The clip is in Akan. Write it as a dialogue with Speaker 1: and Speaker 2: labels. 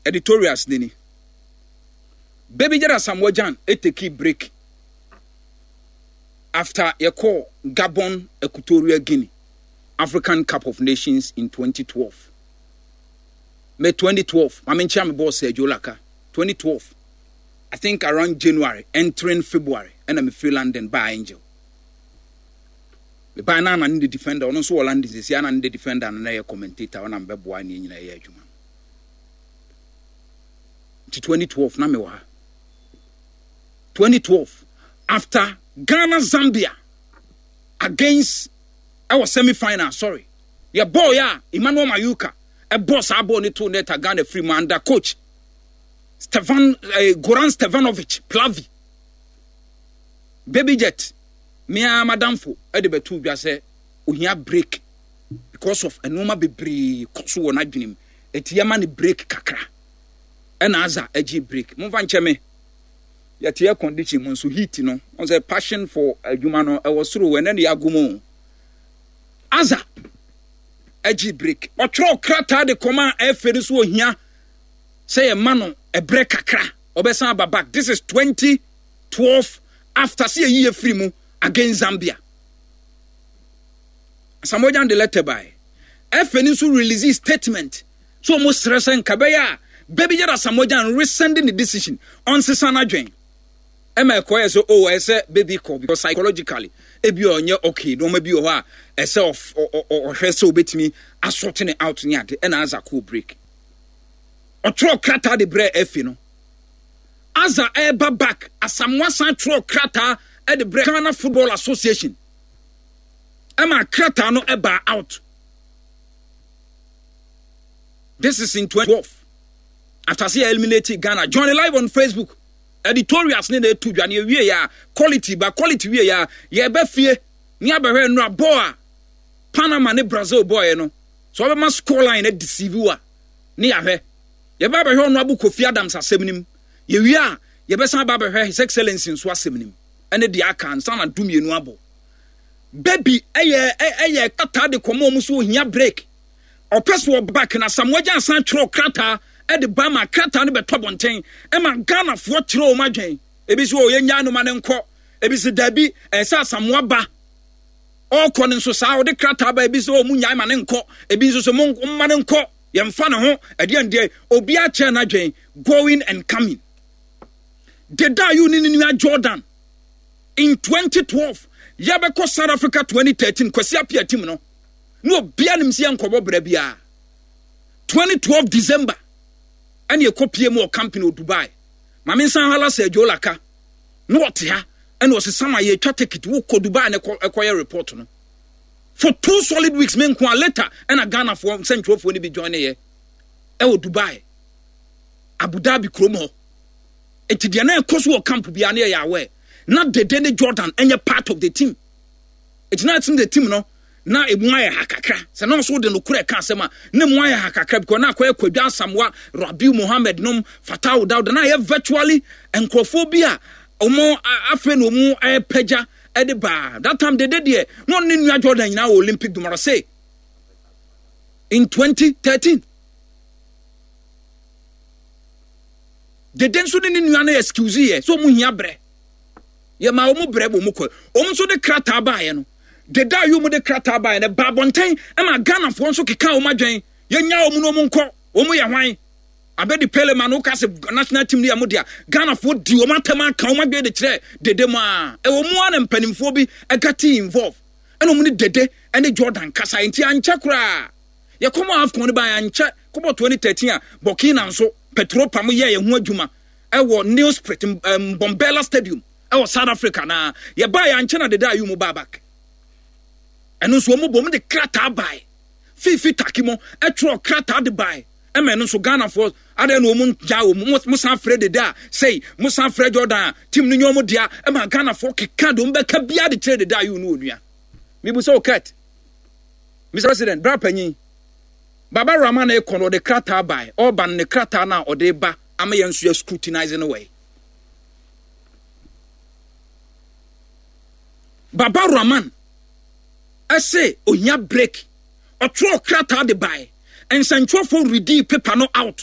Speaker 1: Editorials no ni. Baby Jet Asamoah Gyan tekii break after yɛkɔɔ Gabon Equatorial Guinea African Cup of Nations in 2012. May 2012, Mame nkyia me boss Sergio Laka. 2012, I think around January, entering February, ɛna me free London baa Angel. Me baa na na ne the defender, ɔno nso wɔ London sisi, ana ne the defender no na yɛ commentator, ɔna mbɛboa ne nyina yɛ adwuma. Nti 2012 na mewɔ ha. 2012 after Ghana Zambia against ɛwɔ semi final, sorry, yɛ bɔɔl yɛ a Emmanuel Mayuka ɛbɔ saa bɔɔl ne to net a Ghana firi mu under coach Stevan Goran Stevanovic Plavi. Baby Jet mea madamfo ɛde bɛto dwa sɛ ohia break because of nneɛma bebree kɔ so wɔ n'adwene mu, eti yɛma ne break kakra. Ɛna aza agye break. Momfa nkyɛ me, yɛte air condition mu nso heat no wɔn sɛ passion for adwuma no ɛwɔ soro, ɛnɛ ne yɛago mu. Aza agye break, ɔtwerɛ krataa de kɔma a ɛfɛ no so ohia sɛ yɛma no ɛbrɛ kakra, ɔbɛsan aba back. This is 2012 after sɛ yɛyi yɛ firi mu against Zambia. Asamoah Gyan de letter bae. Ɛfɛ no nso release statement so wɔn srɛ sɛ nka bɛyɛ a Baby Jet Asamoah Gyan rescind ne decision, ɔnsesa n'adwen. Ɛma ɛkɔyɛ sɛ oh ɛsɛ baby kɔ because psychologically ebi ɔnyɛ okay, nneɛma bi wɔ hɔ a ɛsɛ ɔhwɛ sɛ obetumi asɔte ne out ne ade. Ɛna Aza kɔɔ break, ɔtwerɛ krataa de brɛ ɛfɛ no. Aza ɛreba back, Asamoah san twerɛ krataa de brɛ Ghana Football Association ɛma krataa no ɛbaa out. This is in 2012 after sɛ eliminate Ghana. Join live on Facebook. Editorials ne na etu dwa ne ewie ya quality ba quality wie ya yɛbɛ fie ne abɛhwɛ nnura bɔɔl a Panama ne Brazil bɔɔl no so ɔbɛma score line na deceive wa ne yɛahwɛ. Yɛbɛ abɛhwɛ ɔno Abu Kofi Adams asɛm nim. Yɛwie a yɛbɛsan aba abɛhwɛ His Excellency nso asɛm nim ɛne deɛ aka ansa na 12 abɔ. Baby ɛyɛ krataa de kɔma ɔmo so ohia break, ɔpɛ so ɔba kena. Asamoah Gyan san twerɛ krataa ɛde ba ma krataa no bɛtɔ abɔnten ɛma Ghanafoɔ kyerɛ wɔn adwen. Ebi so ɔyɛ nyaa no ma ne nkɔ, ebi so dabi ɛsɛ Asamoah ba. Ɔkɔ no nso saa ɔde krataa ba, ebi so ɔmo nyaa ma ne nkɔ, ebi nso so mo mma ne nkɔ, yɛmfa ne ho ɛdeɛ ndeɛ obi akyerɛ n'adwen going and coming. Deda ayu ne ne nua Jordan in 2012 yɛbɛkɔ South Africa 2013 Kwasi Appiah team no na obia nim sɛ yɛnkɔbɔ bra biara. 2012 December ɛne ɛkɔ pie mu wɔ company wɔ Dubai. Maame nsan hala sɛ Joe Laka na ɔte ha ɛna ɔsɛ sama yɛtwa ticket wokɔ Dubai na ɛkɔyɛ report no for 2 solid weeks. Me nko a later ɛna Ghanafoɔ nsɛntwerɛfoɔ no bi join ne yɛ ɛwɔ Dubai, Abu Dhabi kurom hɔ. Nti deɛ na ɛkɔ so wɔ camp biara ne yɛyɛ aware. Na Dede ne Jordan ɛnyɛ part of the team, nti na ɛte the team no na emu ayɛ ha kakra sɛ na ɔso de no korɛ ka asɛm a na emu ayɛ ha kakra because na akɔyɛ Kwadwo Asamoah, Rabiu Mohammed nom, Fatawu Dawuda, na ayɛ virtually nkurɔfoɔ bi a wɔn afei na wɔn ɛpɛgya ɛde baa. That time Dede deɛ na ɔne ne nua Jordan nyinaa wɔ Olympic de Marseille in 2013. Dede nso ne ne nua no excuse yɛ sɛ wɔn hia brɛ, yɛ ma wɔn brɛ wɔn kɔ. Wɔn nso de krataa baayɛ no, Dede a wɔn de krataa baayɛ no ba abɔnten ma Ghanafoɔ nso keka wɔn adwene. Yɛnya wɔn no wɔn nkɔ, wɔn yɛ hwan? Abedi Pele ma no ka sɛ national team no yɛ mo dea. Ghanafoɔ di wɔn atɛm aka wɔn adwene de kyerɛ Dede mu a ɛwɔ mu a na mpanimfoɔ bi ɛga tea involve ɛna wɔn ne Dede ɛne Jordan kasa. Nti ankyɛ koraa yɛkɔmɔ AFCON no ba, ankyɛ kɔbɔ 2013 a Burkina nso Petropa mo yɛɛ yɛn ho adwuma ɛwɔ Nelspruit Mbombela Stadium ɛwɔ South Africa na yɛbaa yɛ ankyɛ na Dede Ayew mu baa back. Ɛno nso wɔn bɔ wɔn de krataa bae. Fifi Taki mo ɛtwerɛ krataa de bae ɛma ɛno nso Ghanafoɔ adeɛ na wɔn gya wɔn mo san frɛ Dede a sɛyi mo san frɛ Jordan a team no nyɛ wɔn dea ɛma Ghanafoɔ keka de wɔn bɛka bia de kyerɛ Dede Ayew no onua mibu sɛ ɔkɛt. Mr President, bra panyin Baba Rahman ekɔ no ɔde krataa bae. Ɔba no ne krataa no a ɔde ba ama yɛn nso yɛ scrutinize no wɔ Baba Rahman ɛsɛ ohia break, ɔtwerɛ krataa de bae, nsɛntwerɛfoɔ read paper no out.